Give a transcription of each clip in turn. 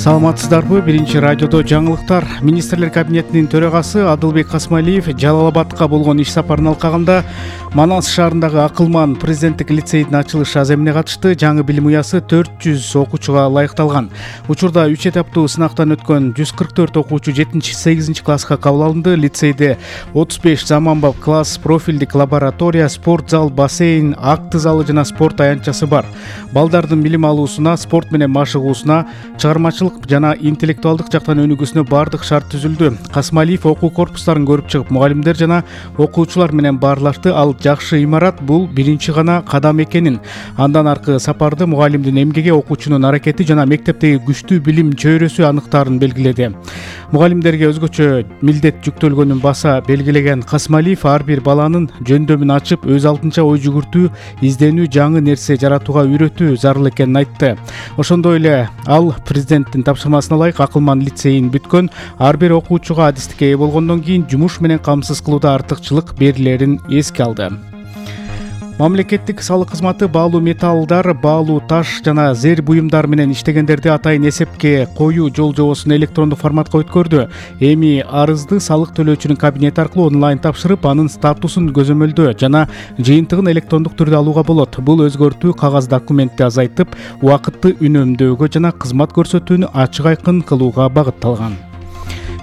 Саламатсыздарбы? Биринчи радиодо жаңылыктар. Министрлер кабинетинин төрагасы Адылбек Касмалиев Жалал Абадка болгон иш сапарынын алкагында Манас шаарындагы Акылман президенттик лицейдин ачылыш аземине катышты. Жаңы билим уясы 400 окуучуга ылайыкталган. Учурда 3 этаптуу сынактан өткөн 144 окуучу 7-8 класска кабыл алынды. Лицейде 35 заманбап класс, профилдик лаборатория, спорт зал, бассейн, акты залы жана спорт аянтчасы бар. Балдардын билим алуусуна, спорт менен машыгуусуна, чыгармачылык жана интеллектуалдык жактан өнүгүүсүнө бардык шарт түзүлдү. Касмалиев окуу корпустарын көрүп чыгып, мугалимдер жана окуучулар менен баарлашты. Ал жакшы имарат бул биринчи гана кадам экенин, андан аркы сапарды мугалимдин эмгеги, окуучунун аракети жана мектептеги күчтүү билим чөйрөсү аныктаарын белгиледи. Мугалимдерге өзгөчө милдет жүктөлгөнүн баса белгилеген Касмалиев ар бир баланын жөндөмүн ачып, өз алдынча ой жүгүртүү, изденүү, жаңы нерсе жаратууга үйрөтүү зарыл экенин айтты. Ошондой эле ал президенттин тапшырмасына ылайык Акылман лицейин бүткөн ар бир окуучуга адистикке ээ болгондон кийин жумуш менен камсыз кылууда артыкчылык берилерин эске алды. Мамлекеттик салык кызматы баалуу металлдар, баалуу таш жана зер буюмдар менен иштегендерди атайын эсепке коюу жол жобосун электрондук форматка өткөрдү. Эми арызды салык төлөөчүнүн кабинети аркылуу онлайн тапшырып, анын статусун көзөмөлдөө жана жыйынтыгын электрондук түрдө алууга болот. Бул өзгөртүү кагаз документти азайтып, убакытты үнөмдөөгө жана кызмат көрсөтүүнү ачык айкын кылууга багытталган.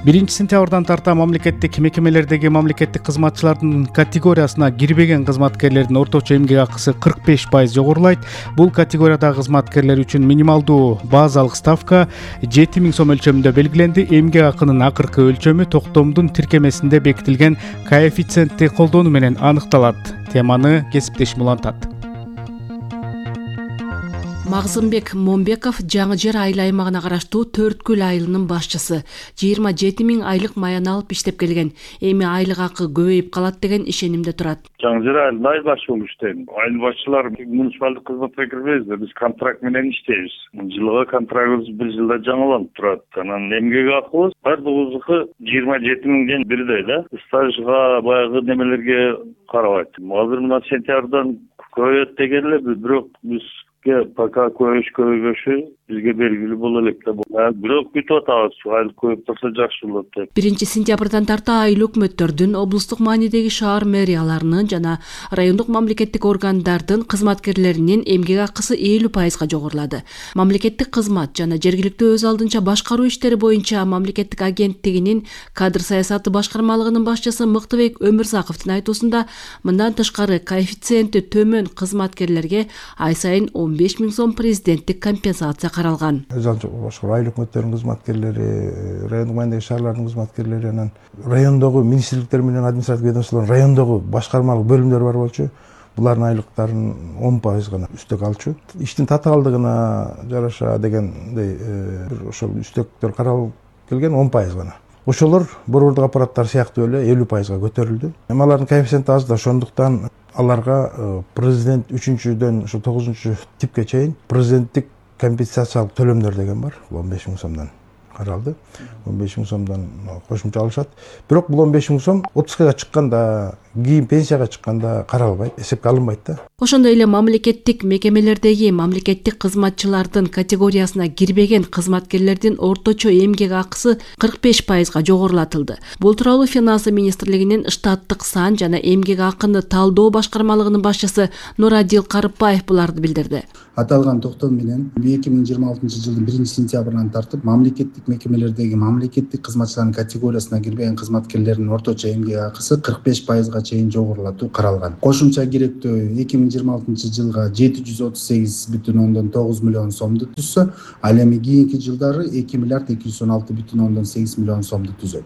1 сентябрдан тарта мамлекеттик мекемелердеги мамлекеттик кызматчылардын категориясына кирбеген кызматкерлердин орточо эмгек акысы 45% жогорулайт. Бул категориядагы кызматкерлер үчүн минималдуу базалык ставка 7000 сом өлчөмүндө белгиленди. Эмгек акынын акыркы өлчөмү токтомдун тиркемесинде бекитилген коэффициентти колдонуу менен аныкталат. Теманы кесиптешим улантат. Магзымбек Момбеков Жаңы Жер айыл аймагына караштуу Төрткүл айылынын башчысы. 27 000 айлык маян алып иштеп келген. Эми айлык акы көбөйүп калат деген ишенимде турат. Жаңы Жер айылында айыл башчы болуп иштейм. Айыл башчылар муниципалдык кызматка кирбейбиз, биз контракт менен иштейбиз. Жылга контрактыбыз 1 жылда жаңыланып турат. Анан эмгек акыбыз бардыгыбыздыкы 27 000ден бирдей да. Стажга баягы немелерге карабайт. Азыр мына сентябрдан көбөйөт деген эле, бирок биз пока көбөйгөшү бизге белгилүү боло элек да. Бирок күтүп атабыз, айыл көбөйүп турса жакшы болот деп. 1 сентябрдан тарта айыл өкмөттөрдүн, облустук маанидеги шаар мэрияларынын жана райондук мамлекеттик органдардын кызматкерлеринин эмгек акысы 50% жогорулады. Мамлекеттик кызмат жана жергиликтүү өз алдынча башкаруу иштери боюнча мамлекеттик агенттигинин кадр саясаты башкармалыгынын башчысы Мыктыбек Өмүрзаковдун айтуусунда, мындан тышкары коэффициенти төмөн кызматкерлерге ай сайын 15 000 сом президенттик компенсация каралган. Башка айыл өкмөттөрүнүн кызматкерлери, райондук маанидеги шаарлардын кызматкерлери, анан райондогу министрликтер менен административдик ведомстволордун райондогу башкармалык бөлүмдөр бар болчу. Булардын айлыктарын 10% гана үстөк алчу. Иштин татаалдыгына жараша дегендей ошол үстөктөр каралып келген 10% гана. Ошолор борбордук аппараттар сыяктуу эле 50% көтөрүлдү. Эми алардын коэффициенти аз да, ошондуктан аларга президент 3-дөн ошо 9-типке чейин президенттик компенсациялык төлөмдөр деген бар. 15 000 сомдон каралды. 15 000 сомдон кошумча алышат. Бирок бул 15 000 сом отпускага чыкканда, кийин пенсияга чыкканда каралбайт, эсепке алынбайт да. Ошондой эле мамлекеттик мекемелердеги мамлекеттик кызматчылардын категориясына кирбеген кызматкерлердин орточо эмгек акысы 45% жогорулатылды. Бул тууралуу Финансы министрлигинин штаттык сан жана эмгек акыны талдоо башкармалыгынын башчысы Нурадил Карыпбаев буларды билдирди. Аталган токтом менен 2026 жылдын 1 сентябрынан тартып мамлекеттик мекемелердеги мамлекеттик кызматчылардын категориясына кирбеген кызматкерлердин орточо эмгек акысы 45% чейин жогорулатуу каралган. Кошумча керектөө 2026 жылга 738,9 миллион сомду түзсө, ал эми кийинки жылдары 2 миллиард 216,8 миллион сомду түзөт.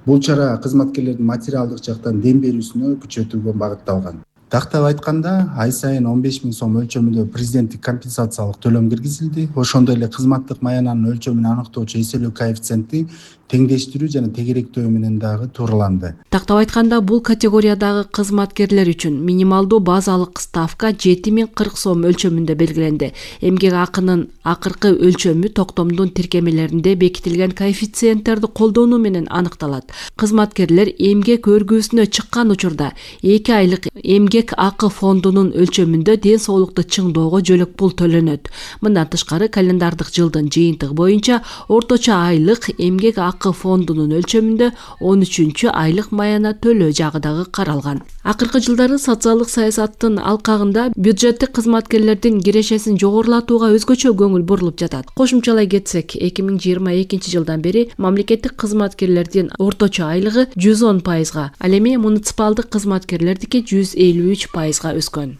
Бул чара кызматкерлердин материалдык жактан дем берүүсүнө күчөтүүгө багытталган. Тактап айтканда, ай сайын 15 000 сом өлчөмүндө президенттик компенсациялык төлөм киргизилди. Ошондой эле кызматтык маянанын өлчөмүн аныктоочу эселөө коэффициенти теңдештирүү жана тегеректөө менен дагы туураланды. Тактап айтканда, бул категориядагы кызматкерлер үчүн минималдуу базалык ставка 7040 сом өлчөмүндө белгиленди. Эмгек акынын акыркы өлчөмү токтомдун тиркемелеринде бекитилген коэффициенттерди колдонуу менен аныкталат. Кызматкерлер эмгек өргүүсүнө чыккан учурда 2 айлык эмгек акы фондунун өлчөмүндө ден соолукту чыңдоого жөлөк пул төлөнөт. Мындан тышкары календардык жылдын жыйынтыгы боюнча орточо айлык эмгек акы фондунун өлчөмүндө 13 айлык маяна төлөө жагы дагы каралган. Акыркы жылдары социалдык саясаттын алкагында бюджеттик кызматкерлердин кирешесин жогорулатууга өзгөчө көңүл бурулуп жатат. Кошумчалай кетсек, 2022 жылдан бери мамлекеттик кызматкерлердин орточо айлыгы 110%, ал эми муниципалдык кызматкерлердики 153%га өскөн.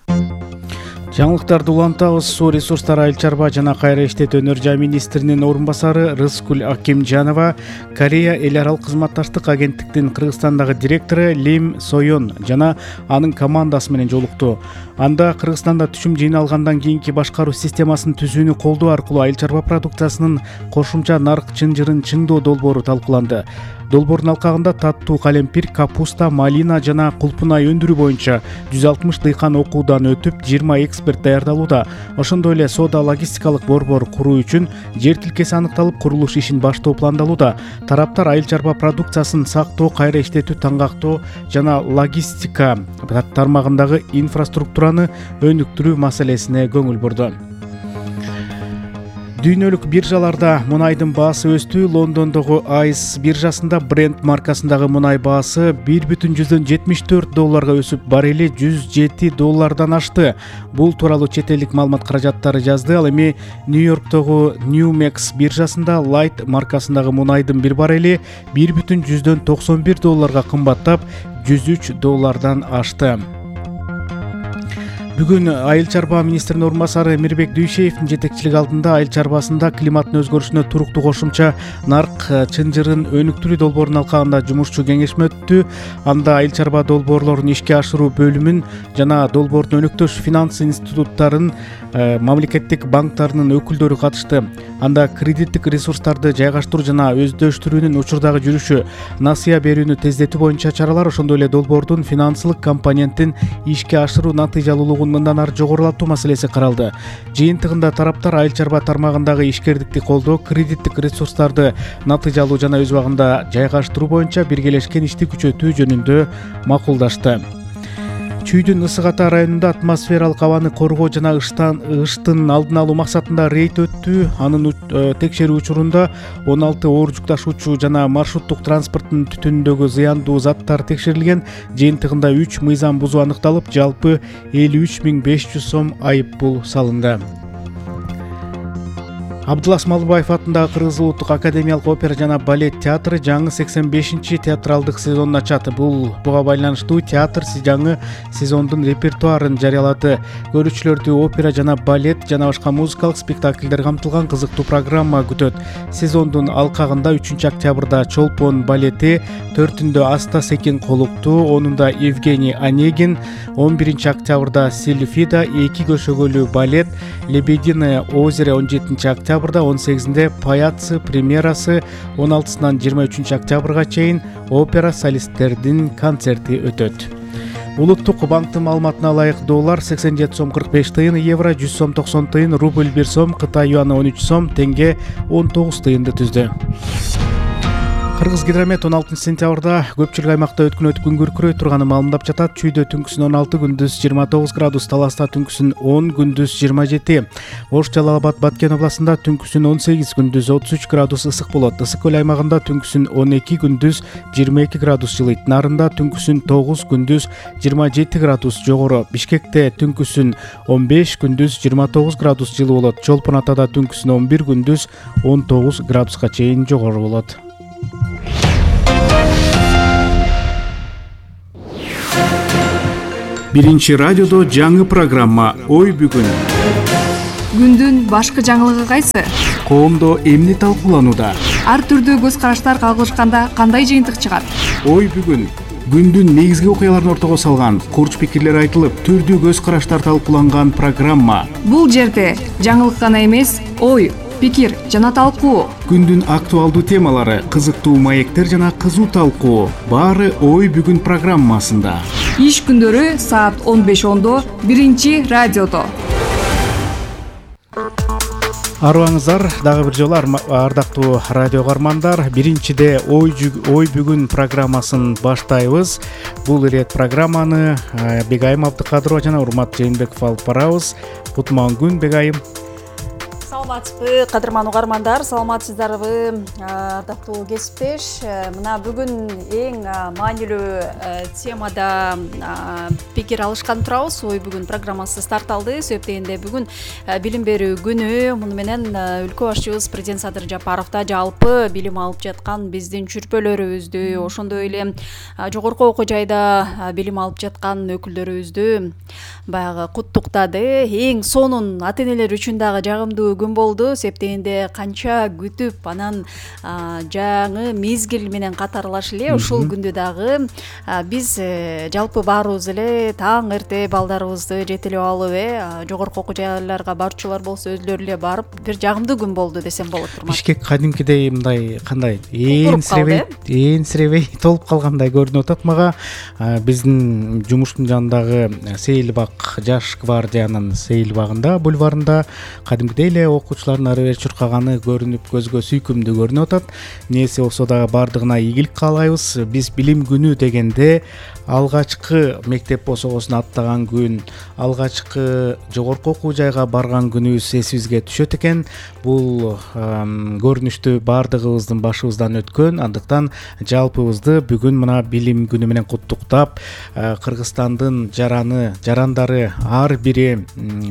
Жаңылыктарды улантабыз. Суу ресурстары, айыл чарба жана кайра иштетүү өнөр жай министринин орун басары Рыскүл Акимжанова Корея эл аралык кызматташтык агенттиктин Кыргызстандагы директору Лим Сойон жана анын командасы менен жолукту. Анда Кыргызстанда түшүм жыйналгандан кийинки башкаруу системасын түзүүнү колдоо аркылуу айыл чарба продукциясынын кошумча нарк чынжырын чыңдоо долбоору талкууланды. Долбоордун алкагында таттуу калемпир, капуста, малина жана кулпунай өндүрүү боюнча 160 дыйкан окуудан өтүп, 20 эксперт даярдалууда. Ошондой эле соода логистикалык борбор куруу үчүн жер тилкеси аныкталып, курулуш ишин баштоо пландалууда. Тараптар айыл чарба продукциясын сактоо, кайра иштетүү, таңгактоо жана логистика тармагындагы инфраструктураны өнүктүрүү маселесине көңүл бурду. Дүйнөлүк биржаларда мунайдын баасы өстү. Лондондогу ICE биржасында Brent маркасындагы мунай баасы $1,74 өсүп, баррели $107 ашты. Бул тууралуу чет элдик маалымат каражаттары жазды. Ал эми Нью-Йорктогу Newmex биржасында Light маркасындагы мунайдын бир баррели $1,91 кымбаттап, $103 ашты. Бүгүн айыл чарба министринин орун басары Мирбек Дүйшеевдин жетекчилиги алдында айыл чарбасында климаттын өзгөрүшүнө туруктуу кошумча нарк чынжырын өнүктүрүү долбоорунун алкагында жумушчу кеңешме өттү. Анда айыл чарба долбоорлорун ишке ашыруу бөлүмүн жана долбоордун өнөктөш финанс институттарын, мамлекеттик банктарынын өкүлдөрү катышты. Анда кредиттик ресурстарды жайгаштыруу жана өздөштүрүүнүн учурдагы жүрүшү, насыя берүүнү тездетүү боюнча чаралар, ошондой эле долбоордун финансылык компонентин ишке ашыруу натыйжалуулугун мындан ары жогорулатуу маселеси каралды. Жыйынтыгында тараптар айыл чарба тармагындагы ишкердикти колдоо, кредиттик ресурстарды натыйжалуу жана өз убагында жайгаштыруу боюнча биргелешкен ишти күчөтүү жөнүндө макулдашты. Чүйдүн ысык ата районунда атмосфералык абаны коргоо жана ыштын алдын алуу максатында рейд өттү. Анын текшерүү учурунда 16 оор жүк ташуучу жана маршруттук транспорттун түтүнүндөгү зыяндуу заттар текшерилген. Жыйынтыгында 3 мыйзам бузуу аныкталып, жалпы 53.500 сом айып пул салынды. Абдулас Малыбаев атындагы Кыргыз Улуттук академиялык опера жана балет театры жаңы 85-чи театралдык сезонун ачат. Буга байланыштуу театр жаңы сезондун репертуарын жарыялады. Көрүүчүлөрдү опера жана балет жана башка музыкалык спектакльдер камтылган кызыктуу программа күтөт. Сезондун алкагында 3-октябрда Чолпон балети, 4-үндө Аста Секин Колуктуу, 10-унда Евгений Онегин, 11-октябрда Сильфида 2 көшөгөлүү балет, Лебединое озеро 17-октябрда, 18-де Паяцы премьерасы, 16-сынан 23-октябрга чейин опера солисттердин концерти өтөт. Улуттук банктын маалыматына ылайык доллар 87 сом 45 тыйын, евро 100 сом 90 тыйын, рубль 1 сом, Кытай юаны 13 сом, тенге 19 тыйынды түздү. Кыргыз гидромет 16 сентябрда көпчүлүк аймакта өткөн күн күркүрөй турганын маалымдап жатат. Чүйдө түнкүсүн 16, күндүз 29 градус, Таласта түнкүсүн 10, күндүз 27. Ош, Жалал-Абад, Баткен областында түнкүсүн 18, күндүз 33 градус ысык болот. Ысык көл аймагында түнкүсүн 12, күндүз 22 градус жылыйт. Нарында түнкүсүн 9, күндүз 27 градус жогору. Бишкекте түнкүсүн 15, күндүз 29 градус жылы болот. Чолпон Атада түнкүсүн 11, күндүз 19 градуска чейин жогору болот. Биринчи радиодо жаңы программа «Ой бүгүн». Күндүн башкы жаңылыгы кайсы? Коомдо эмне талкууланууда? Ар түрдүү көз караштар кагылышканда кандай жыйынтык чыгат? Ой бүгүн. Күндүн негизги окуяларын ортого салган, курч пикирлер айтылып, түрдүү көз караштар талкууланган программа. Бул жерде жаңылык гана эмес, ой, пикир жана талкуу, күндүн актуалдуу темалары, кызыктуу маектер жана кызуу талкуу баары ой бүгүн программасында. Иш күндөрү саат 15:10 биринчи радиодо. Арыбаңыздар, дагы бир жолу ардактуу радио каармандар, биринчиде ой бүгүн программасын баштайбыз. Бул ирет программаны Бегайым Абдыкадырова жана Урмат Жээнбеков алып барабыз. Кутман күн, Бегайым. Саламатсызбы, кадырман угармандар, саламатсыздарбы, ардактуу кесиптеш. Мына бүгүн эң маанилүү темада пикир алышкан турабыз. Ой бүгүн программасы старт алды. Себеп дегенде бүгүн билим берүү күнү. Муну менен өлкө башчыбыз президент Садыр Жапаров да жалпы билим алып жаткан биздин чүрпөлөрүбүздү, ошондой эле жогорку окуу жайда билим алып жаткан өкүлдөрүбүздү баягы куттуктады. Эң сонун ата-энелер үчүн дагы жагымдуу күн болду. Себеп дегенде канча күтүп, анан жаңы мезгил менен катарлаш эле ушул күндү дагы биз жалпы баарыбыз эле таң эрте балдарыбызды жетелеп алып, жогорку окуу жайларга барчулар болсо өзүлөрү эле барып, бир жагымдуу күн болду десем болот. Бишкек кадимкидей мындай кандай энсиребей толуп калгандай көрүнүп атат мага. Биздин жумуштун жанындагы Сейилбак жаш гвардиянын Сейилбагында, бульварында кадимкидей эле окуучулардын ары бери чуркаганы көрүнүп, көзгө сүйкүмдүү көрүнүп атат. Нээсе болсо дагы баардыгына ийгилик каалайбыз. Биз билим күнү дегенде алгачкы мектеп босогосун аттаган күн, алгачкы жогорку окуу жайга барган күнүбүз эсибизге түшөт экен. Бул көрүнүштү баардыгыбыздын башыбыздан өткөн. Андыктан жалпыбызды бүгүн мына билим күнү менен куттуктап, Кыргызстандын жарандары ар бири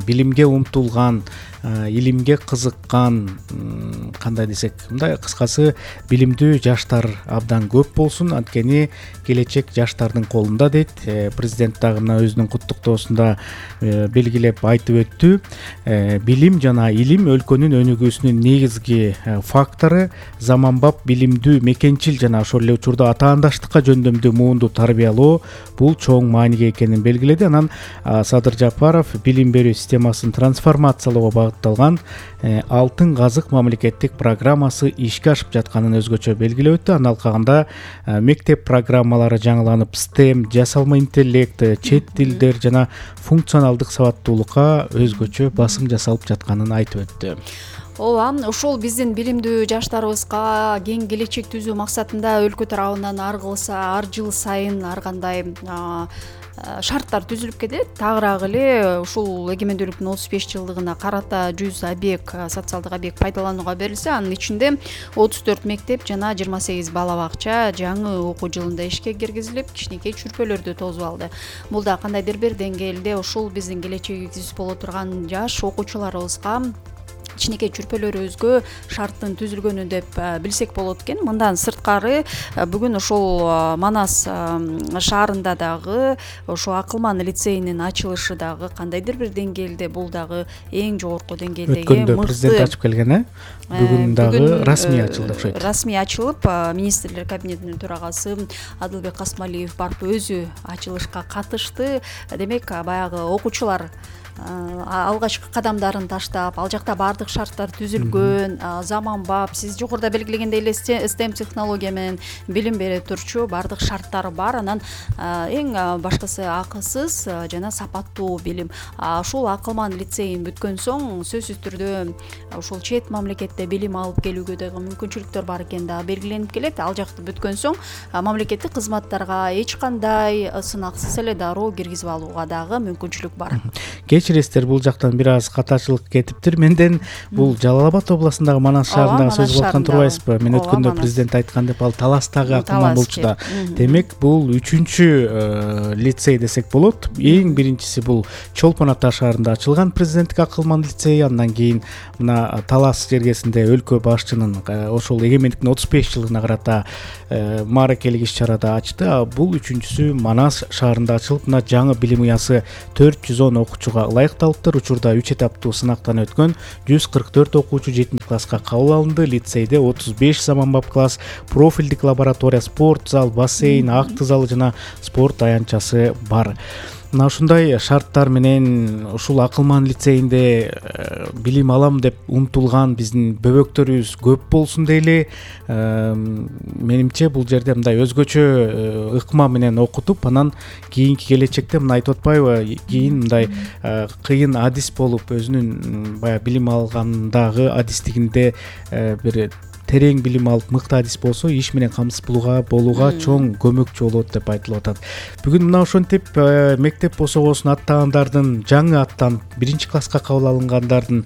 билимге умтулган, илимге кызыккан, кандай десек, мындай кыскасы билимдүү жаштар абдан көп болсун, анткени келечек жаштардын колунда дейт. Президент дагы мына өзүнүн куттуктоосунда белгилеп айтып өттү. Билим жана илим өлкөнүн өнүгүүсүнүн негизги фактору. Заманбап билимдүү, мекенчил жана ошол эле учурда атаандаштыкка жөндөмдүү муунду тарбиялоо бул чоң мааниге экенин белгиледи. Анан Садыр Жапаров билим берүү системасын трансформациялоого багытталган Алтын казык мамлекеттик программасы ишке ашып жатканын өзгөчө белгилеп өттү. Анын алкагында мектеп программалары жаңыланып, STEM, жасалма интеллект, чет тилдер жана функционалдык сабаттуулукка өзгөчө басым жасалып жатканын айтып өттү. Ооба, ушул биздин билимдүү жаштарыбызга кең келечек түзүү максатында өлкө тарабынан ар жыл сайын ар кандай шарттар түзүлүп келет. Тагыраак эле ушул эгемендүүлүктүн 35 жылдыгына карата 100 объект, социалдык объект пайдаланууга берилсе, анын ичинде 34 мектеп жана 28 бала бакча жаңы окуу жылында ишке киргизилип, кичинекей чүрпөлөрдү тосуп алды. Бул да кандайдыр бир деңгээлде ушул биздин келечегибиз боло турган жаш окуучуларыбызга кичинекей чүрпөлөрүбүзгө шарттын түзүлгөнү деп билсек болот экен. Мындан сырткары бүгүн ошол Манас шаарында дагы ошо Акылман лицейинин ачылышы дагы кандайдыр бир деңгээлде, бул дагы эң жогорку деңгээлдеги өткөндө президент ачып келген, бүгүн дагы расмий ачылды окшойт. Расмий ачылып, министрлер кабинетинин төрагасы Адылбек Касмалиев барып өзү ачылышка катышты. Демек, баягы окуучулар алгачкы кадамдарын таштап, ал жакта баардык шарттар түзүлгөн, заманбап, сиз жогоруда белгилегендей эле STEM технология менен билим бере турчу баардык шарттары бар. Анан эң башкысы акысыз жана сапаттуу билим. Ушул Акылман лицейин бүткөн соң сөзсүз түрдө ушул чет мамлекетте билим алып келүүгө дагы мүмкүнчүлүктөр бар экени дагы белгиленип келет. Ал жакты бүткөн соң мамлекеттик кызматтарга эч кандай сынаксыз эле дароо киргизип алууга дагы мүмкүнчүлүк бар. Кечиресиздер, бул жактан бир аз катачылык кетиптир. Менден бул Жалал Абад областындагы Манас шаарындагы сөз кылып аткан турбайсызбы? Мен өткөндө президент айткан деп, ал Таластагы Акылман болчу да. Демек, бул 3-чү лицей десек болот. Эң биринчиси бул Чолпон Ата шаарында ачылган президенттик Акылман лицейи. Андан кийин мына Талас жергесинде өлкө башчынын ошол эгемендиктин 35 жылдыгына карата мааракелик иш-чарада ачты. Бул 3-чүсү Манас шаарында ачылып, мына жаңы билим уясы 410 окуучуга ылайыкталыптыр. Учурда 3 этаптуу сынактан өткөн 144 окуучу 7-класска кабыл алынды. Лицейде 35 заманбап класс, профилдик лаборатория, спорт зал, бассейн, акты залы жана спорт аянтчасы бар. Мына ушундай шарттар менен ушул Акылман лицейинде билим алам деп умтулган биздин бөбөктөрүбүз көп болсун дейли. Менимче бул жерде мындай өзгөчө ыкма менен окутуп, анан кийинки келечекте мына айтып атпайбы, кийин мындай кыйын адис болуп өзүнүн баягы билим алгандагы адистигинде бир терең билим алып мыкты адис болсо иш менен камсыз болууга чоң көмөкчү болот деп айтылып атат. Бүгүн мына ошентип мектеп босогосун аттагандардын, жаңы аттанып 1-класска кабыл алынгандардын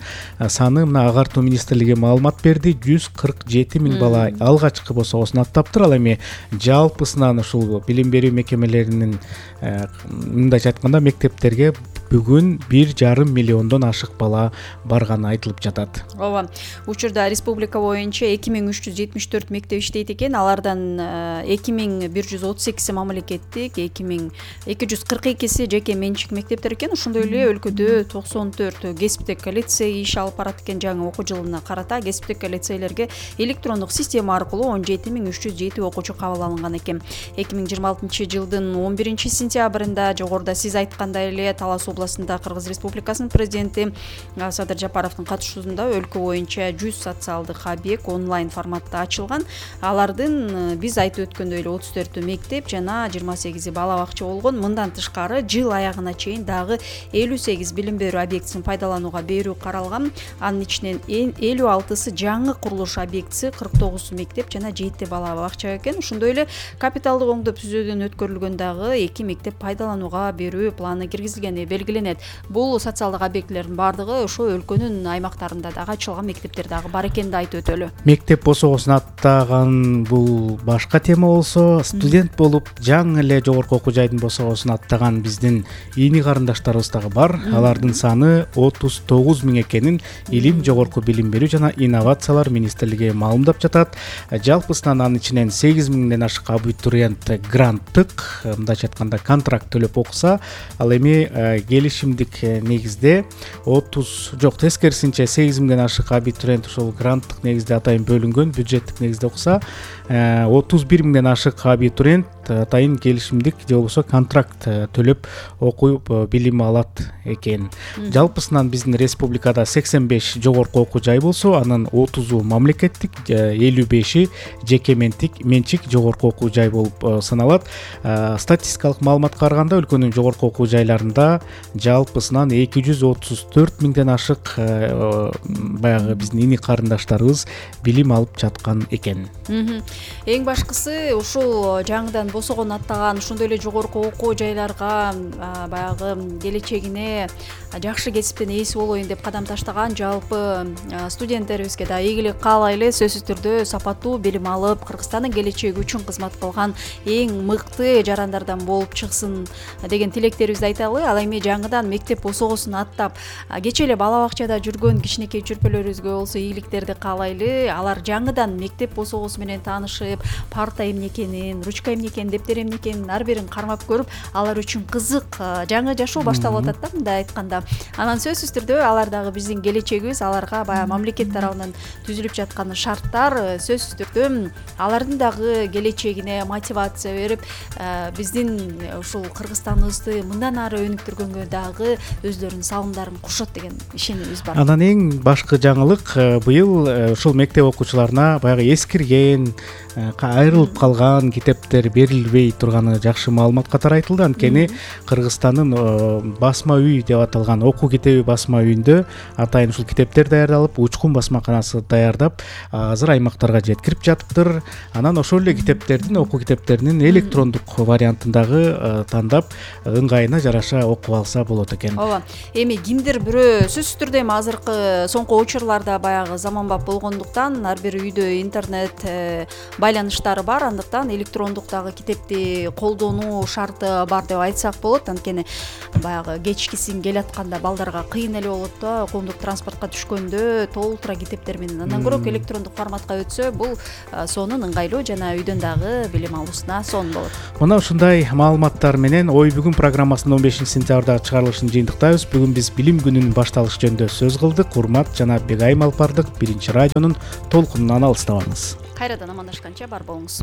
саны мына Агартуу министрлиги маалымат берди. 147 миң бала алгачкы босогосун аттаптыр. Ал эми жалпысынан ушул билим берүү мекемелеринин мындайча айтканда мектептерге бүгүн 1,5 миллиондон ашык бала барганы айтылып жатат. Ооба. Учурда республика боюнча 2374 мектеп иштейт экен. Алардан 2138 мамлекеттик, 2242 жеке менчик мектептер экен. Ошондой эле өлкөдө 94 кесиптик лицей иш алып барат экен. Жаңы окуу жылына карата кесиптик лицейлерге электрондук система аркылуу 17307 окуучу кабыл алынган экен. 2026 жылдын 11 сентябрында жогоруда сиз айткандай эле Талас областында Кыргыз Республикасынын президенти Садыр Жапаровдун катышуусунда өлкө боюнча 100 социалдык объект онлайн форматта ачылган. Алардын биз айтып өткөндөй эле 34 мектеп жана 28 бала бакча болгон. Мындан тышкары жыл аягына чейин дагы 58 билим берүү объектисин пайдаланууга берүү каралган. Анын ичинен 56сы жаңы курулуш объектиси, 49 мектеп жана 7 бала бакча экен. Ошондой эле капиталдык оңдоп түзүүдөн өткөрүлгөн дагы 2 мектеп пайдаланууга берүү планы киргизилгени белгиленет. Бул социалдык объектилердин баардыгы ошо өлкөнүн аймактарында дагы ачылган мектептер дагы бар экенин айтып өтөлү. Мектеп босогосун аттаган бул башка тема болсо, студент болуп жаңы эле жогорку окуу жайдын босогосун аттаган биздин ийни карындаштарыбыз дагы бар. Алардын саны 39 миң экенин Илим, жогорку билим берүү жана инновациялар министрлиги маалымдап жатат. Жалпысынан анын ичинен 8 миңден ашык абитуриент гранттык, мындайча айтканда контракт төлөп окуса, ал эми келишимдик негизде тескерисинче 8 миңден ашык абитуриент ошол гранттык негизде атайын бөлүнгөн, бюджеттик негизде окуса, 31 миңден ашык абитуриент атайын келишимдик же болбосо контракт төлөп окуп билим алат экен. Жалпысынан биздин республикада 85 жогорку окуу жай болсо, анын 30-у мамлекеттик, 55-и жеке менчик жогорку окуу жай болуп саналат. Статистикалык маалыматка караганда өлкөнүн жогорку окуу жайларында жалпысынан 234 миңден ашык баягы биздин ини карындаштарыбыз билим алып жаткан экен. Эң башкысы ушул жаңыдан босогон аттаган ошондой эле жогорку окуу жайларга баягы келечегине жакшы кесиптен ээси болоюн деп кадам таштаган жалпы студенттерибизге да ийгилик каалайлы. Сөзсүз түрдө сапаттуу билим алып, Кыргызстандын келечеги үчүн кызмат кылган эң мыкты жарандардан болуп чыксын деген тилектерибизди айталы. Ал эми жаңыдан мектеп босогосун аттап, кечээ эле бала бакчада жүргөн кичинекей чүрпөлөрүбүзгө болсо ийгиликтерди каалайлы. Алар жаңыдан мектеп босогосу менен таанышып, парта эмне экенин, ручка эмне экенин, дептер эмне экенин ар бирин кармап көрүп, алар үчүн кызык жаңы жашоо башталып атат да, мындай айтканда. Анан сөзсүз түрдө алар дагы биздин келечегибиз, аларга баягы мамлекет тарабынан түзүлүп жаткан шарттар сөзсүз түрдө алардын дагы келечегине мотивация берип, биздин ушул Кыргызстаныбызды мындан ары өнүктүргөнгө дагы өздөрүнүн салымдарын кошот деген ишенимибиз бар. Анан эң башкы жаңылык быйыл ушул мектеп окуучуларына баягы эскирген, айрылып калган китептер берилбей турганы жакшы маалымат катары айтылды. Анткени Кыргызстандын басма үй деп аталган окуу китеби басма үйүндө атайын ушул китептер даярдалып, учкун басмаканасы даярдап, азыр аймактарга жеткирип жатыптыр. Анан ошол эле китептердин, окуу китептеринин электрондук вариантын дагы тандап, ыңгайына жараша окуп алса болот экен. Ооба. Эми кимдир бирөө сөзсүз түрдө эми азыркы соңку учурларда баягы заманбап болгондуктан ар бир үйдө интернет байланыштары бар, андыктан электрондук дагы китепти колдонуу шарты бар деп айтсак болот. Анткени баягы кечкисин келатканда балдарга кыйын эле болот да, коомдук транспортко түшкөндө толтура китептер менен. Андан көрө электрондук форматка өтсө, бул сонун ыңгайлуу жана үйдөн дагы билим алуусуна сонун болот. Мына ушундай маалыматтар менен Ой бүгүн программасынын 15 сентябрдагы чыгарылышын жыйынтыктайбыз. Бүгүн биз билим күнүнүн башталышы жөнүндө сөз кылдык. Урмат жана Бегайым алып бардык. Биринчи радионун толкунунан алыстабаңыз. Кайрадан амандашканча бар болуңуз.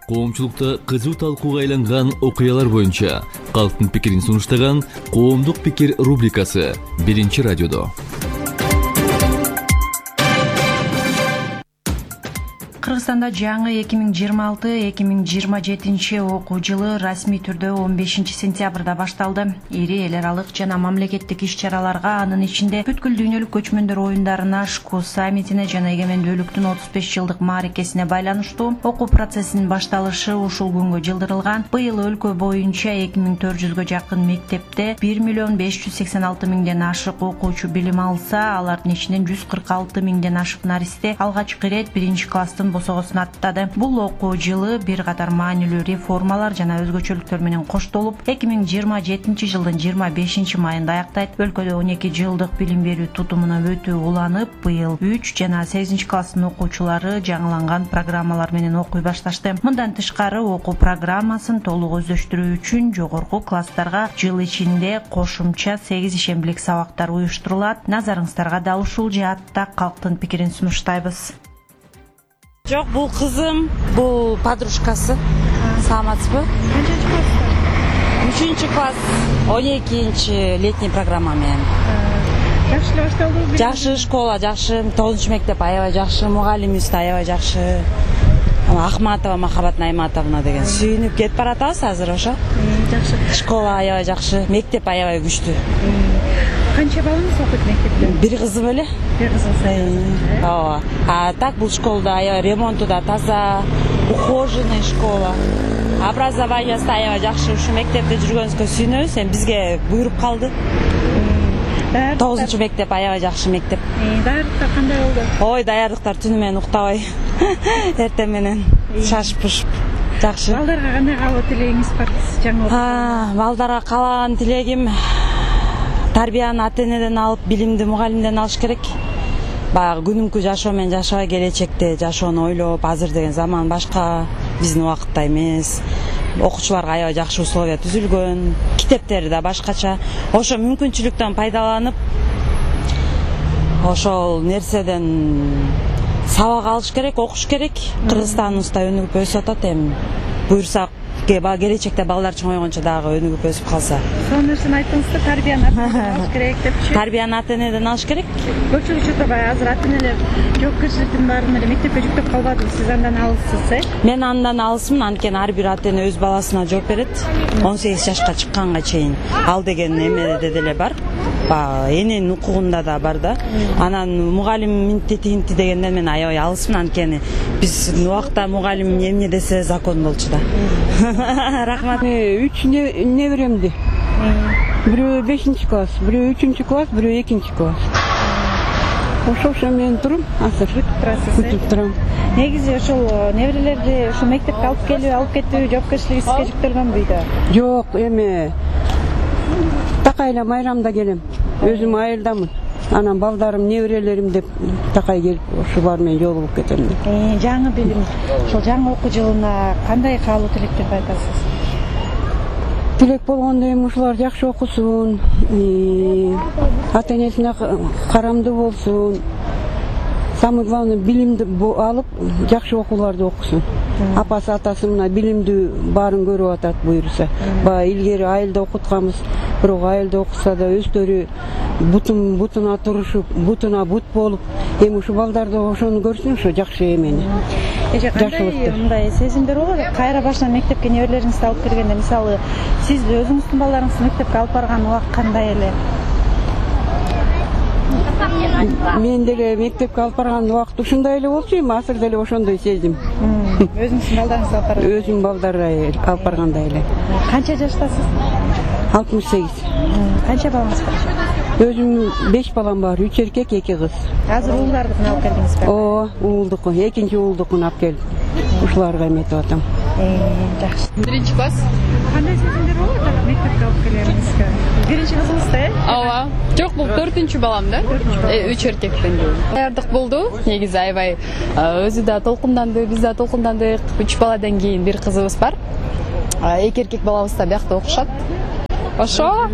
Коомчулукта кызуу талкууга айланган окуялар боюнча калктын пикирин сунуштаган Коомдук пикир рубрикасы Биринчи радиодо. Кыргызстанда жаңы 2026-2027 окуу жылы расмий түрдө 15 сентябрда башталды. Ири эл аралык жана мамлекеттик иш-чараларга, анын ичинде бүткүл дүйнөлүк көчмөндөр оюндарына, ШКУ саммитине жана эгемендүүлүктүн 35 жылдык мааракесине байланыштуу окуу процессинин башталышы ушул күнгө жылдырылган. Быйыл өлкө боюнча 2400гө жакын мектепте 1,586,000ден ашык окуучу билим алса, алардын ичинен 146,000ден ашык наристе алгачкы ирет биринчи класстын босогосун аттады. Бул окуу жылы бир катар маанилүү реформалар жана өзгөчөлүктөр менен коштолуп, 2027 жылдын 25 майында аяктайт. Өлкөдө 12 жылдык билим берүү тутумуна өтүү уланып, быйыл 3 жана 8 класстын окуучулары жаңыланган программалар менен окуй башташты. Мындан тышкары окуу программасын толук өздөштүрүү үчүн жогорку класстарга жыл ичинде кошумча 8 ишембилик сабактар уюштурулат. Назарыңыздарга дал ушул жаатта калктын пикирин сунуштайбыз. Жок, бул кызым, бул подружкасы. Саламатсызбы? Канчанчы класста? 3 класс, 12 летний программа менен. Жакшы эле башталдыбы? Жакшы школа, жакшы, 9 мектеп аябай жакшы, мугалимибиз да аябай жакшы. Ахматова Махабат Найматовна деген сүйүнүп кетип баратабыз азыр ошо. Жакшы. Школа аябай жакшы, мектеп аябай күчтүү. Канча балаңыз окуйт мектепте? Бир кызым эле. Бир кызыңыз. Ооба. Так бул школада аябай ремонту да таза, ухоженный школа. Образованиясы аябай жакшы. Ушу мектепте жүргөнүзгө сүйүнөбүз. Эми бизге буйруп калды. 9 мектеп аябай жакшы мектеп. Даярдыктар кандай болду? Ой, даярдыктар түнү менен уктабай. Эртең менен шашып-пушуп. Жакшы. Балдарга кандай каалоо тилегиңиз бар? Жаңы балдарга каалаган тилегим тарбияны ата-энеден алып, билимди мугалимден алыш керек. Баягы күнүмкү жашоо менен жашабай, келечекте жашоону ойлоп, азыр деген заман башка, биздин убакытта эмес. Окуучуларга аябай жакшы условия түзүлгөн, китептери да башкача. Ошо мүмкүнчүлүктөн пайдаланып, ошол нерседен сабак алыш керек, окуш керек. Кыргызстаныбызда өнүгүп өсүп атат, эми буйрса келечекте балдар чоңойгончо дагы өнүгүп өсүп калса. Сол нерсени айттыңыз да, тарбияны ата-энеден алыш керек депчи. Тарбияны ата-энеден алыш керек. Көпчүлүк учурда баягы азыр ата-энелер жоопкерчиликтин баарын эле мектепке жүктөп калбадыбы, сиз андан алыссыз, Мен андан алысмын, анткени ар бир ата-эне өз баласына жооп берет. 18 жашка чыкканга чейин ал деген эмеде деле бар. Эненин укугунда да бар да. Анан мугалим минти дегенден мен аябай алысмын, анткени биздин убакта мугалим эмне десе закон болчу да. Рахмат. 3 неберемди. Бирөө 5 класс, бирөө 3 класс, бирөө 2 класс. Ошо мен турум, азыр күтүп турам. Негизи ошол неберелерди ошо мектепке алып кетүү жоопкерчилиги сизге жүктөлгөнбү үйдө? Жок, эми такай эле майрамда келем. Өзүм айылдамын. Анан балдарым, неберелерим деп такай келип, ошо бар менен жолугуп кетем. Жаңы билим, ошол жаңы окуу жылына кандай каалоо тилектерди айтасыз? Тилек болгондо эми ушулар жакшы окусун, ата-энесине карамдуу болсун. Самый главный билимди алып, жакшы окууларды окусун. Апасы атасы мына билимдүү баарын көрүп атат буйруса. Баягы илгери айылда окутканбыз, бирок айылда окуса да өздөрү бутуна турушуп, бутуна бут болуп, эми ушу балдарды ошону көрсүн, ошо жакшы эмени. Кандай мындай сезимдер болот? Кайра башынан мектепке неберелериңизди алып киргенде, мисалы, сиз өзүңүздүн балдарыңызды мектепке алып барган убакыт кандай эле? Мен деле мектепке алып барган убакыт ушундай эле болчу, эми азыр деле ошондой сезим. Өзүңүздүн балдарыңызды алып барган? Өзүм балдарды алып баргандай эле. Канча жаштасыз? 68. Канча балаңыз бар? Өзүм 5 балам бар, 3 эркек, 2 кыз. Азыр уулдардыкын алып келдиңизби? Ооба, уулдуку, экинчи уулдукун алып келип, ушуларга эметип атам. Жакшы. 1 класс. Кандай сезимдер болот мектепке алып келгениңизге? Биринчи кызыңыз да, Ооба. Жок, бул 4-чү балам да. 3 эркекпен. Даярдык болду. Негизи аябай өзү да толкунданды, биз да толкундандык. 3 баладан кийин бир кызыбыз бар. 2 эркек балабыз да биякта окушат. Ошо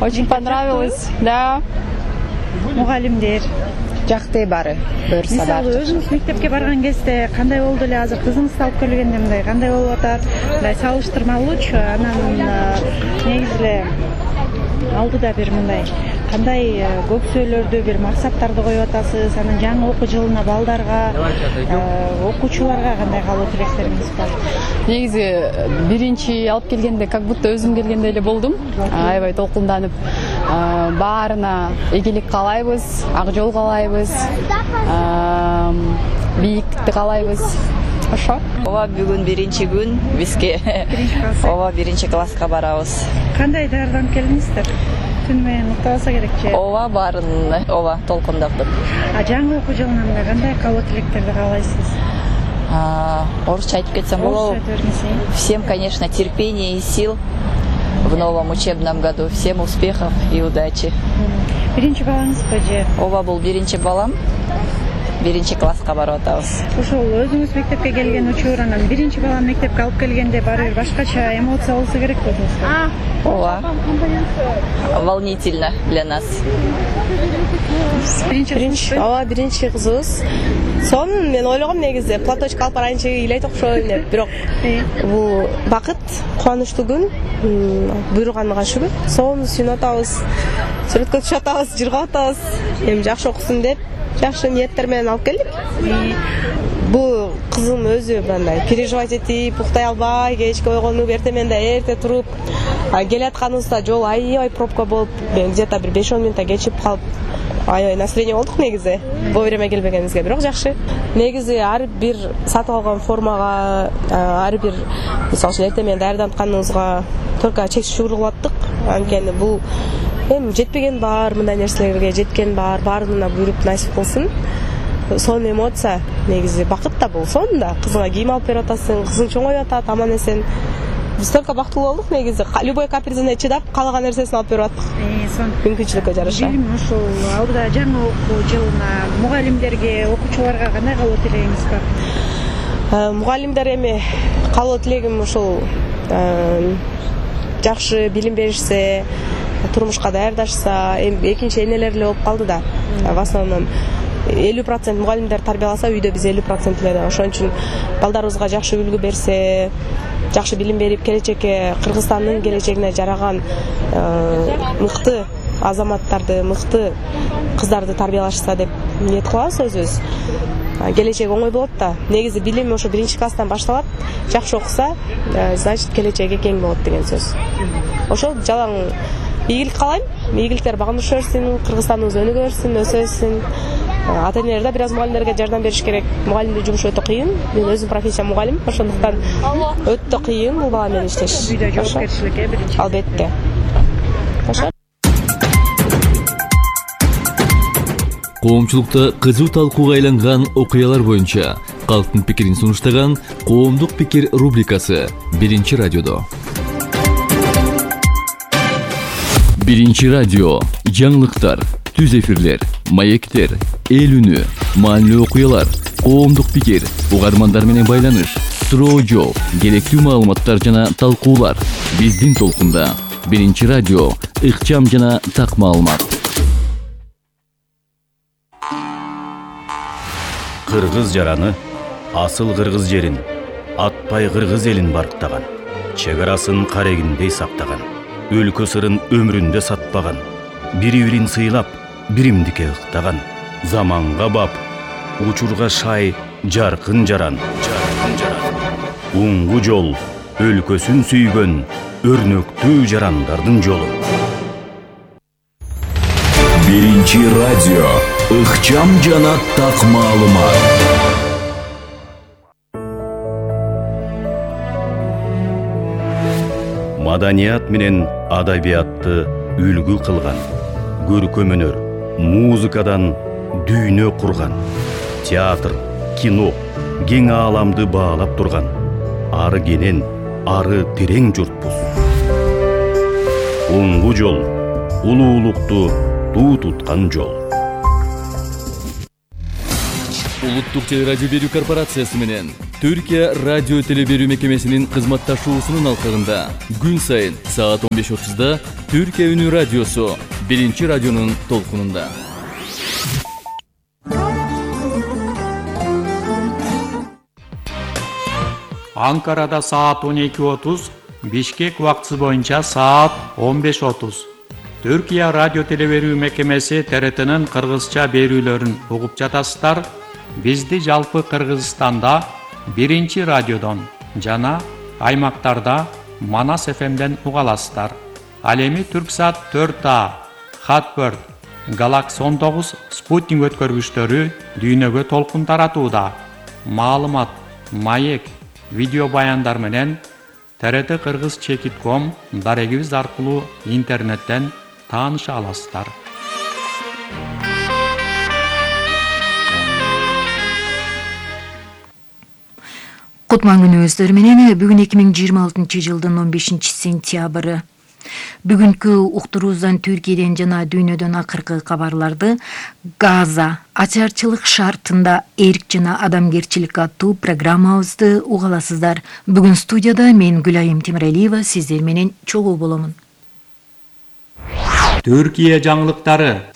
очень понравилось, да. Мугалимдер жакты баары буюрса баары. Мисалы өзүңүз мектепке барган кезде кандай болду эле, азыр кызыңызды алып келгенде мындай кандай болуп атат? Мындай салыштырмалуучу, анан негизи эле алдыда бир мындай кандай көксөөлөрдү, бир максаттарды коюп атасыз? Анан жаңы окуу жылына балдарга, окуучуларга кандай каалоо тилектериңиз бар? Негизи биринчи алып келгенде как будто өзүм келгендей эле болдум. Аябай толкунданып, баарына ийгилик каалайбыз, ак жол каалайбыз, бийиктикти каалайбыз. Ошо. Ооба, бүгүн биринчи күн бизге. Ооба, биринчи класска барабыз. Кандай даярданып келдиңиздер? Түн менен уктабаса керек же? Ооба, баарын толкундаптыр. Жаңы окуу жылына кандай каалоо тилектерди каалайсыз? Орусча айтып кетсем болобу? Всем, конечно, терпения и сил в новом учебном году. Всем успехов и удачи. Биринчи балаңызбы же? Ооба, бул биринчи балам. Биринчи класска барып атабыз. Ошол өзүңүз мектепке келген учур, анан биринчи баланы мектепке алып келгенде баары бир башкача эмоция болсо керек өзүңүзгө. Ооба. Волнительно для нас. Ооба, биринчи кызыбыз. Сонун мен ойлогом негизи платочка алып барайынчы ыйлайт окшойм деп, бирок бул бакыт, кубанычтуу күн, буйруганга шүгүр. Сонун сүйүнүп атабыз, сүрөткө түшүп атабыз, жыргап атабыз. Эми жакшы окусун деп жакшы ниеттер менен алып келдик. Бул кызым өзү мындай переживать этип, уктай албай, кечке ойгонуп, эртемен да эрте туруп, келатканыбызда жол аябай пробка болуп, где-то бир 5-10 минутта кечип калып, аябай настроение болдук негизи. Вовремя келбегенибизге, бирок жакшы. Негизи ар бир сатып алган формага, ар бир мисалы үчүн эртемен даярдантканыбызга только чексиз шүгүр кылып аттык. Анткени бул эми жетпеген бар, мындай нерселерге жеткен бар, баарына буйруп насип кылсын. Сонун эмоция, негизи бакыт да бул. Сонун кызыңа кийим алып берип атасың, кызың чоңоюп атат, аман эсен. Биз только бактылуу болдук негизи. Любой капризине чыдап, каалаган нерсесин алып берип аттык. Мүмкүнчүлүккө жараша. Билим ошол алдыда жаңы окуу жылына мугалимдерге, окуучуларга кандай каалоо тилегиңиз бар? Мугалимдер эми каалоо тилегим ушул жакшы билим беришсе, турмушка даярдашса, эми экинчи энелер эле болуп калды да. В основном 50% мугалимдер тарбияласа, үйдө биз 50% эле. Ошон үчүн балдарыбызга жакшы үлгү берсе, жакшы билим берип, келечекке Кыргызстандын келечегине жараган мыкты азаматтарды, мыкты кыздарды тарбиялашса деп ниет кылабыз өзүбүз. Келечек оңой болот да. Негизи билим ошо биринчи класстан башталат. Жакшы окуса, значит келечеги кең болот деген сөз. Ошол жалаң ийгилик каалайм. Ийгиликтер багындырыша берсин, Кыргызстаныбыз өнүгө берсин, өсө берсин. Ата-энелер да бир аз мугалимдерге жардам бериш керек. Мугалимдин жумушу өтө кыйын. Мен өзүм профессиям мугалим, ошондуктан өтө кыйын бул бала менен иштеш. Үйдө жоопкерчилик биринчи. Албетте. Коомчулукта кызуу талкууга айланган окуялар боюнча калктын пикирин сунуштаган Коомдук пикир рубрикасы биринчи радиодо. Биринчи радио жаңылыктар, түз эфирлер, маектер, эл үнү, маанилүү окуялар, коомдук пикир, угармандар менен байланыш, суроо жооп, керектүү маалыматтар жана талкуулар биздин толкунда. Биринчи радио ыкчам жана так маалымат. Кыргыз жараны асыл кыргыз жерин, атпай кыргыз элин барктаган, чек арасын карегиндей сактаган, өлкө сырын өмүрүндө сатпаган, бири-бирин сыйлап, биримдикке ыктаган, заманга бап, учурга шай, жаркын жаран. Уңгу жол, өлкөсүн сүйгөн, өрнөктүү жарандардын жолу. Биринчи радио, ыкчам жана так маалымат. Маданият менен адабиятты үлгү кылган, көркөм өнөр, музыкадан дүйнө курган, театр, кино, кең ааламды баалап турган, ары кенен, ары терең журтпуз. Уңгу жол, улуулукту туу туткан жол. Улуттук телерадио берүү корпорациясы менен Түркия радио телеберүү мекемесинин кызматташуусунун алкагында күн сайын саат 15:30 Түркия үнү радиосу биринчи радионун толкунунда. Анкарада саат 12:30, Бишкек убактысы боюнча саат 15:30. Түркия радио телеберүү мекемеси ТРТнын кыргызча берүүлөрүн угуп жатасыздар. Бизди жалпы Кыргызстанда 1 радиодон жана аймактарда Манас ФМден уга аласыздар. Ал эми Түрксат 4А, Хатбird, Galaxy 19 спутник өткөргүчтөрү дүйнөгө толкун таратууда. Маалымат, маек, видео баяндар менен TRT Кыргыз Чекит.com дарегибиз аркылуу интернеттен тааныша аласыздар. Кутман күнүңүздөр менен бүгүн 2026 жылдын 15 сентябры. Бүгүнкү уктуруубуздан Түркияден жана дүйнөдөн акыркы кабарларды Газа ачарчылык шартында эрк жана адамгерчилик аттуу программабызды угаласыздар. Бүгүн студияда мен Гүлайым Темиралиева сиздер менен чогуу боломун. Түркия жаңылыктары.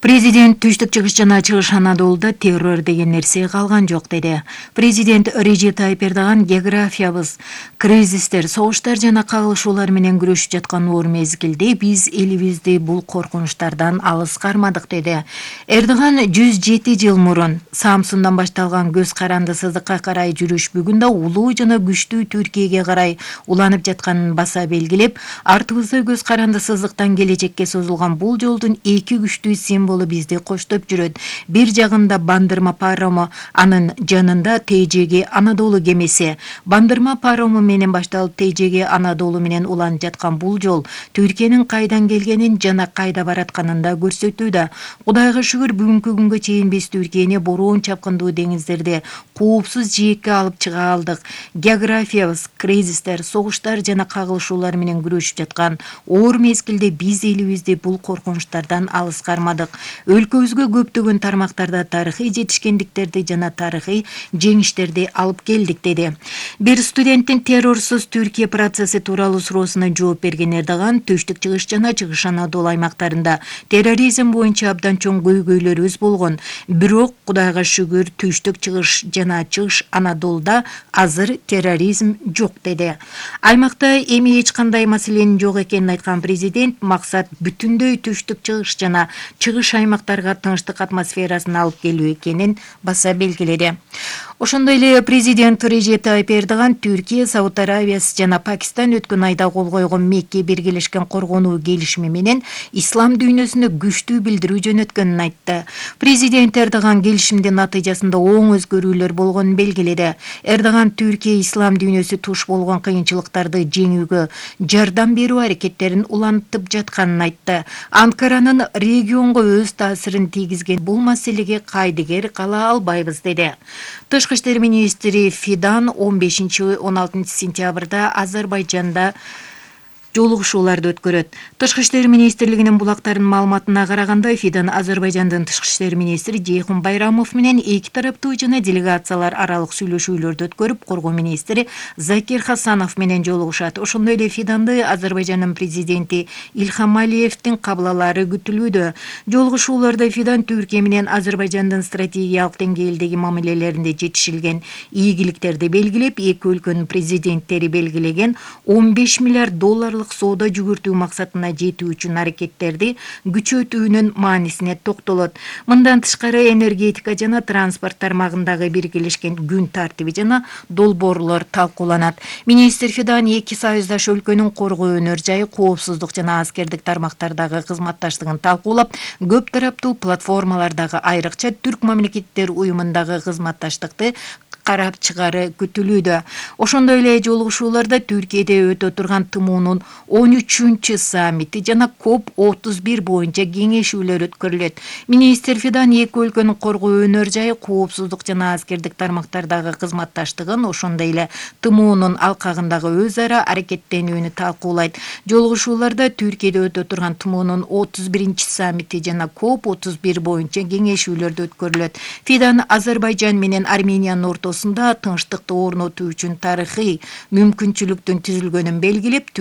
Президент Түштүк чыгыш жана чыгыш Анадолуда террор деген нерсе калган жок деди. Президент Режеп Тайип Эрдоган географиябыз, кризистер, согуштар жана кагылышуулар менен күрөшүп жаткан оор мезгилде биз элибизди бул коркунучтардан алыс кармадык деди. Эрдоган 107 жыл мурун Самсундан башталган көз карандысыздыкка карай жүрүш бүгүн да улуу жана күчтүү Түркияга карай уланып жатканын баса белгилеп, артыбызда көз карандысыздыктан келечекке созулган бул жолдун эки күчтүү символу бизди коштоп жүрөт. Бир жагында Бандырма парому, анын жанында ТЖГ Анадолу кемеси. Бандырма парому менен башталып ТЖГ Анадолу менен уланып жаткан бул жол Түркиянын кайдан келгенин жана кайда баратканын да көрсөтүүдө. Кудайга шүгүр бүгүнкү күнгө чейин биз Түркияны бороон чапкындуу деңиздерде коопсуз жээкке алып чыга алдык. Географиябыз, кризистер, согуштар жана кагылышуулар менен күрөшүп жаткан оор мезгилде биз элибизди бул коркунучтардан алыс кармадык. Өлкөбүзгө көптөгөн тармактарда тарыхый жетишкендиктерди жана тарыхый жеңиштерди алып келдик деди. Бир студенттин террорсуз Түркия процесси тууралуу суроосуна жооп берген Эрдоган Түштүк чыгыш жана чыгыш Анадолу аймактарында терроризм боюнча абдан чоң көйгөйлөрүбүз болгон. Бирок Кудайга шүгүр Түштүк чыгыш жана чыгыш Анадолуда азыр терроризм жок деди. Аймакта эми эч кандай маселенин жок экенин айткан президент максат бүтүндөй Түштүк чыгыш жана чыгыш аймактарга тынчтык атмосферасын алып келүү экенин баса белгиледи. Ошондой эле президент Режеп Тайип Эрдоган Түркия, Сауд Арабиясы жана Пакистан өткөн айда кол койгон Мекке биргелешкен коргонуу келишими менен ислам дүйнөсүнө күчтүү билдирүү жөнөткөнүн айтты. Президент Эрдоган келишимдин натыйжасында оң өзгөрүүлөр болгонун белгиледи. Эрдоган Түркия ислам дүйнөсү туш болгон кыйынчылыктарды жеңүүгө жардам берүү аракеттерин улантып жатканын айтты. Анкаранын регионго өз таасирин тийгизген бул маселеге кайдыгер кала албайбыз деди. Тышкы иштер министри Фидан 15-16 сентябрда Азербайжанда жолугушууларды өткөрөт. Тышкы иштер министрлигинин булактарынын маалыматына караганда, Фидан Азербайжандын тышкы иштер министри Жейхун Байрамов менен эки тараптуу жана делегациялар аралык сүйлөшүүлөрдү өткөрүп, коргоо министри Закир Хасанов менен жолугушат. Ошондой эле Фиданды Азербайжандын президенти Ильхам Алиевдин кабылалары күтүлүүдө. Жолугушууларда Фидан Түркия менен Азербайжандын стратегиялык деңгээлдеги мамилелеринде жетишилген ийгиликтерди белгилеп, эки өлкөнүн президенттери белгилеген $15 миллиард соода жүгүртүү максатына жетүү үчүн аракеттерди күчөтүүнүн маанисине токтолот. Мындан тышкары энергетика жана транспорт тармагындагы биргелешкен күн тартиби жана долбоорлор талкууланат. Министр Фидан эки союздаш өлкөнүн коргоо өнөр жайы, коопсуздук жана аскердик тармактардагы кызматташтыгын талкуулап, көп тараптуу платформалардагы айрыкча Түрк мамлекеттер уюмундагы кызматташтыкты карап чыгары күтүлүүдө. Ошондой эле жолугушууларда Түркияда өтө турган ТМУнун 13-чү саммити жана COP31 боюнча кеңешүүлөр өткөрүлөт. Министр Фидан эки өлкөнүн коргоо өнөр жайы, коопсуздук жана аскердик тармактардагы кызматташтыгын, ошондой эле ТМУнун алкагындагы өз ара аракеттенүүнү талкуулайт. Жолугушууларда Түркияда өтө турган ТМУнун 31-чи саммити жана COP31 боюнча кеңешүүлөрдү өткөрүлөт. Фидан Азербайжан менен Армениянын ортосунда тынчтыкты орнотуу үчүн тарыхый мүмкүнчүлүктүн түзүлгөнүн белгилеп,